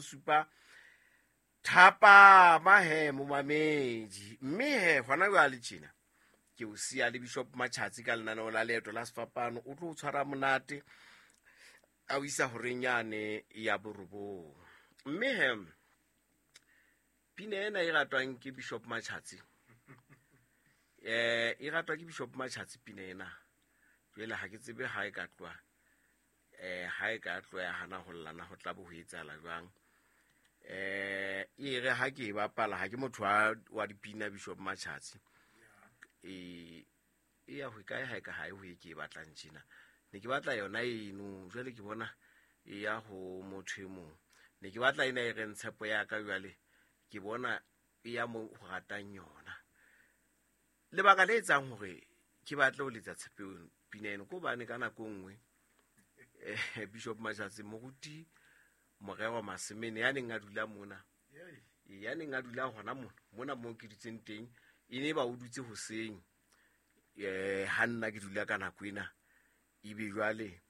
bosupa thapama he momamedi. Mme he hona jwale tjena ke o siya le Bishop Matjhatsi ka lenaneo la Leeto la Sefapano. O tlo o tshwara monate a o isa horeng yane ya borobong. Mme he pina ena e ratwang ke Bishop Matjhatsi, e ratwa ke Bishop Matjhatsi pina ena. Jwale ha ke tsebe ha e ka tloha, ha e ka tloha ya hana ho llana, ho tla bo ho etsahala jwang. E re ha ke e bapala, ha ke motho wa dipina Bishop Matjhatsi. E ya ho kae ha e ka ha e ho e ke e batlang tjena. Ne ke batla yona eno, jwale ke bona e ya ho motho e mong. Ne ke batla ena e reng tshepo ya ka, jwale ke bona e ya mo ho ratang yona. Lebaka le etsang hore ke batle ho letsa tshepo pina eno ke hobane ka nako e nngwe, Bishop Matjhatsi, moruti Morero Masemene ya neng a dula mona, ya neng a dula hona mona, mona moo ke dutseng teng, e ne ba o dutse hoseng, ha nna ke dula ka nako ena, ebe jwale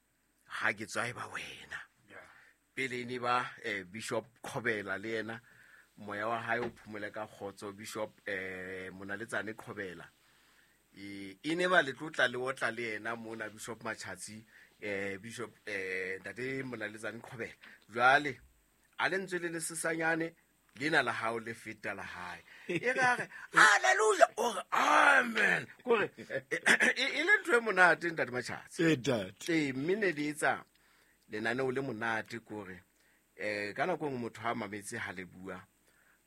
ha ke tswa e ba wena. Pele e ne ba Bishop Qhobela le yena, moya wa hae o phomole ka kgotso, Bishop Monaletsane Qhobela. E ne ba le tlotla le otla le yena mona Bishop Matjhatsi, Bishop Ntate Monaletsane Qhobela. Jwale a le ntswe le le sesanyane lena la hao le feta la hae. E re a re hallelujah, o re amen. Kore e le ntho e monate Ntate Matjhatsi. Ntate. Mme ne le etsa lenaneo le monate kore, ka nako e nngwe motho ha mametse ha le bua,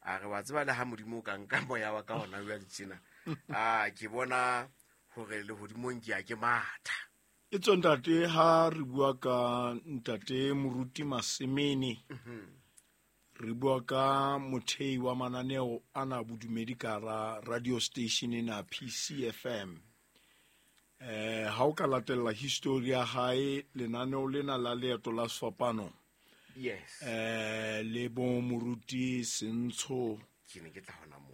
a re wa tseba le ha Modimo o ka nka moya wa ka hona jwale tjena, ke bona hore lehodimong ke ya ke matha. E tswe ntate, ha re bua ka ntate Moruti Masemene, re bua ka mothei wa mananeo ana bodumedi ka hara radio station ena PCFM. Ha o ka latella history ya hae, lenaneo lena la Leeto la Sefapano, le bo Moruti Sentsho, Ke ne ke tla hona moo.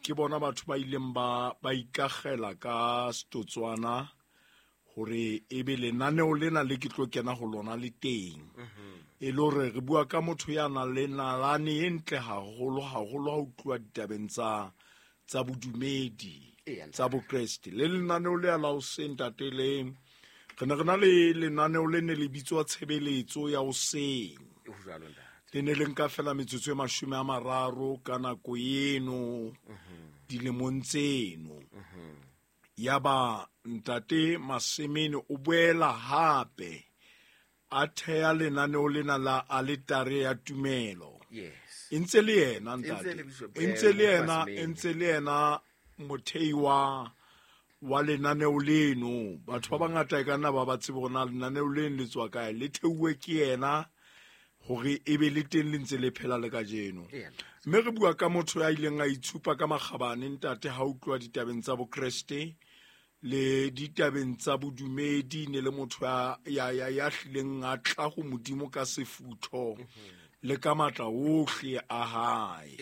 Ke bona batho ba ileng ba ikagela ka setotswana hore ebe lenaneo lena le ke tlo kena ho lona le teng. E le hore re bua ka motho ya nang le nalane e ntle haholo, haholo ha o tluwa ditabeng tsa bodumedi, tsa Bokreste. Le lenaneo le la hoseng, ntate, le re ne re na le lenaneo le ne le bitswa Tshebeletso ya Hoseng. E ho jwalo, ntate. Le ne le nka fela metsotso e 30 ka nako eno, dilemong tseno. Yaba ntate Masemene o boela hape a theha lenaneo lena la Aletare ya Tumelo. E ntse le yena, E ntse ntate. le Bishop, E ntse le yena, Masemene. e ntse le yena mothei wa lenaneo leno. Batho ba bangata e ka nna ba ba tsebe hore na lenaneo leno le tswa kae, le theuwe ke yena hore e be le teng le ntse le phela le kajeno. Mme re bua ka motho ya ileng a itshupa ka makgabane, ntate, ha utlwa ditabeng tsa Bokreste le ditabeng tsa bodumedi, ne le motho ya hlileng a tla ho Modimo ka sefutho le ka matla ohle a hae.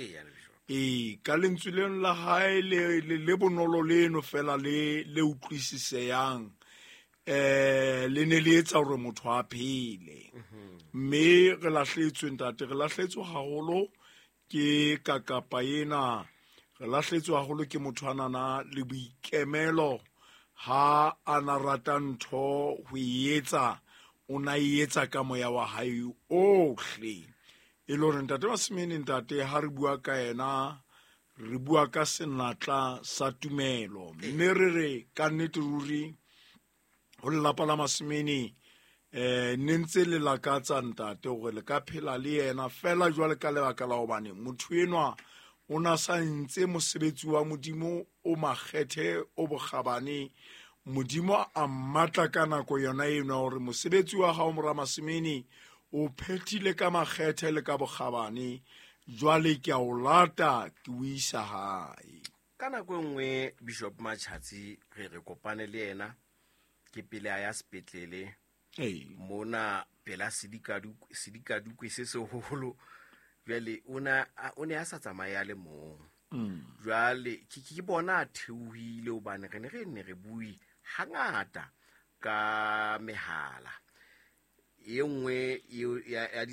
Ka lentswe leno la hae le bonolo leno fela le utlwisiseyang, le ne le etsa hore motho a phele. Mme re lahletswe, ntate, re lahletswe haholo ke kakapa ena, re lahletswe haholo ke motho a nana le boikemelo. Ha a na rata ntho ho e etsa, o na e etsa ka moya wa hae ohle. E le hore ntate Masemene, ntate, ha re bua ka yena, re bua ka senatla sa tumelo. Mme re re ka nnete ruri ho lelapa la Masemene, ne ntse le lakatsa ntate hore le ka phela le yena fela jwale ka lebaka la hobane motho enwa o na sa ntse mosebetsi wa Modimo o makgethe o bokgabane. Modimo a mmatla ka nako yona eno hore mosebetsi wa hao mora Masemene o phethile ka makgethe le ka bokgabane, jwale ke a o lata ke o isa hae. Ka nako e nngwe Bishop Matjhatsi re kopane le yena ke pele a ya sepetlele. Mona pela sedikadukwe se seholo. Jwale o ne a sa tsamaye a le mong. Jwale ke bona a theohile hobane re ne re nne re bue hangata ka mehala. E nngwe eo ya